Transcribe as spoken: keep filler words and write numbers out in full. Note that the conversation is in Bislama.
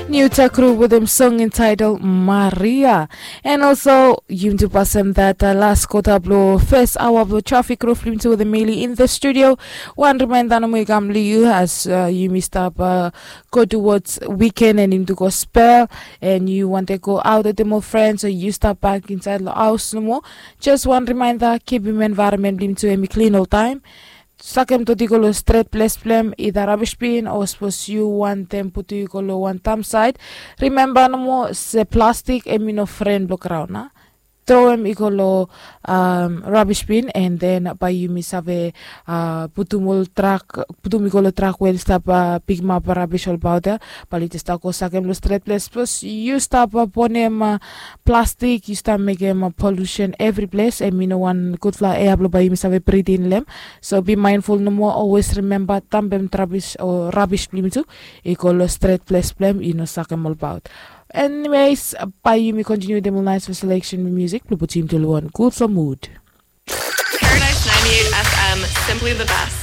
New Tech Crew with them song entitled Maria. And also, yumi tu pasem that uh, last quarter blo first hour blo traffic roof lim tu with Emily in the studio. One reminder no more kam liu as uh, yumi stop uh, go towards weekend and into gospel and you want to go out with them friends or you stop back inside the house no more. Just one reminder, keep your environment lim tu emi clean all time. Sakem toti go lo stret ples blem ida rabish bin o sapos yu wantem putu i go lo wan tamsaid. Rimemba nomo se plastik em i no fren blo graun a. Tro em i go lo um, rabish bin and then bai yumi save uh, putum ol trak putum i go lo trak we stap uh, pikim ap rabish olbaut ya. Bai yu jes stap go sakem lo stret ples sapos yu stap uh, bonem uh, plastik yu stap mekem uh, polusen evri ples em i no wan gudfala ea blo bai yumi save bridin lem. So be mindful no more, always remember tambem trabis o rubbish blim tu. I go lo stret ples blem i no sakem all about. Anyways, bai yumi continue dem nice for selection music blo putim tu one good for mood. Paradise ninety-eight F M, simply the best.